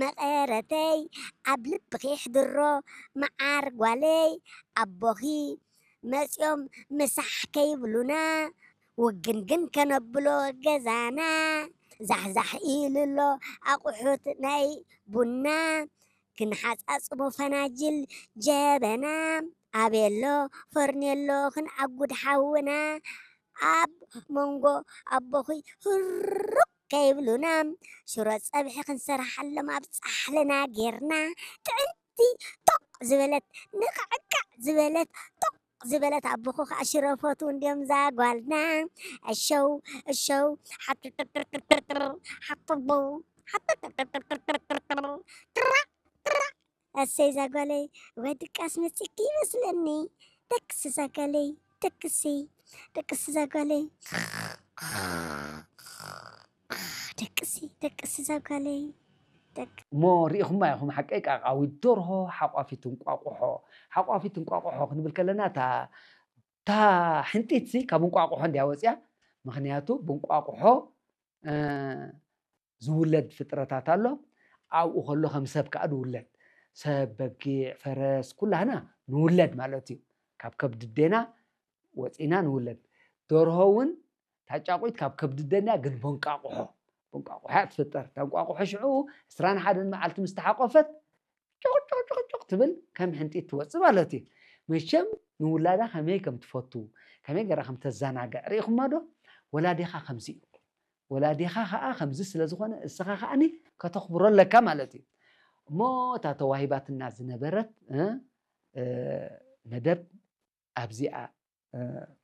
መቐረተይ ኣብ ልብኺ ሕድሮ መዓር ጓለይ ኣቦኺ መጺኦም ምሳሕ ከይብሉና ውግንግን ከነብሎ ገዛና ዛሕዛሕ ኢሉ ኣሎ ኣቑሑት ናይ ቡና ክንሓጻጽቦ ፈናጅል ጀበና ኣቤሎ ፈርኔሎ ክንኣጉድ ሓውና ኣብ መንጎ ኣቦኺ ህሩብ ከይብሉና ሽሮ ጸብሒ ክንሰርሓሎም ኣብ ጻሕልና ጌርና ጥዕምቲ ቶቕ ዝበለት ንቕዕቃዕ ዝበለት ቶቕ ዝበለት ኣቦኹ ከዓ ሽሮ ፈትው እንድዮም ዛጓልና እሸው እሸው ሓጥጥጥጥጥጥር ሓጥቡ ሓጥጥጥጥጥጥር ጥራ ጥራ እሰይ ዛጓለይ ወይ ድቃስ መፅኪ ይመስለኒ ደቅሲ ዛጓለይ ደቅሲ ደቅሲ ዛጓለይ ደቅሲ ደቅሲ ዛጓለይ ደቅ እሞ ርኢኹማ ኢኹም ሓቀይ ቃቃዊት ደርሆ ሓቋፊት እንቋቑሖ ሓቋፊት እንቋቑሖ ክንብል ከለና እታ እታ ሕንጢትሲ ካብ እንቋቑሖ እንድያ ወፅያ ምኽንያቱ ብእንቋቑሖ ዝውለድ ፍጥረታት ኣሎ ኣብኡ ከሎ ከም ሰብ ከዓ ዝውለድ ሰብ በጊዕ ፈረስ ኩላህና ንውለድ ማለት እዩ ካብ ከብዲ ኣዴና ወፂና ንውለድ ደርሆ እውን ታጫቑት ካብ ከብዲ ኣዴና ግን በንቋቑሖ በንቋቑሖ እያ ትፍጠር እታ እንቋቑሖ ሽዑ ዕስራን ሓደን መዓልቲ ምስ ተሓቆፈት ጭቕጭቕጭቕጭቕ ትብል ከም ሕንጢት ትወፅእ ማለት እዩ መቸም ንውላዳ ከመይ ከም ትፈቱ ከመይ ገራ ከም ተዘናግዕ ርኢኹማ ዶ ወላዲኻ ከምዚ እዩ ወላዲኻ ከዓ ከምዚ ስለ ዝኾነ እስኻ ከዓኒ ከተኽብሮ ኣለካ ማለት እዩ እሞ እታ ተዋሂባትና ዝነበረት መደብ ኣብዚኣ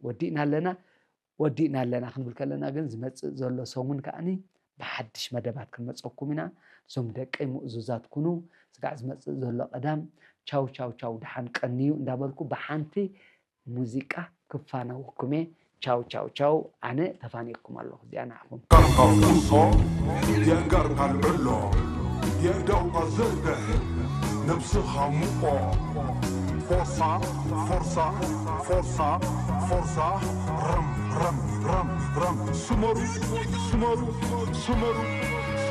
ወዲእና ኣለና ወዲእና ኣለና ክንብል ከለና ግን ዝመፅእ ዘሎ ሰሙን ከዓኒ ብሓድሽ መደባት ክንመፀኩም ኢና እዞም ደቀይ ምእዙዛት ኩኑ ስጋዕ ዝመፅእ ዘሎ ቀዳም ቻው ቻው ቻው ደሓን ቀንዩ እንዳበልኩ ብሓንቲ ሙዚቃ ክፋነወኩም እየ ቻው ቻው ቻው ኣነ ተፋኒየኩም ኣለኹ እዚኣ ንዓኹም ቀርቀር ኩሶ የእንጋርካ ልዕሎ የእዳውካ ዘርግሕ ነብስኻ ሙቆ ፎርሳ ፎርሳ ፎርሳ ፎርሳ ረም ረም ረም ረም ስመሩ ስመሩ ስመሩ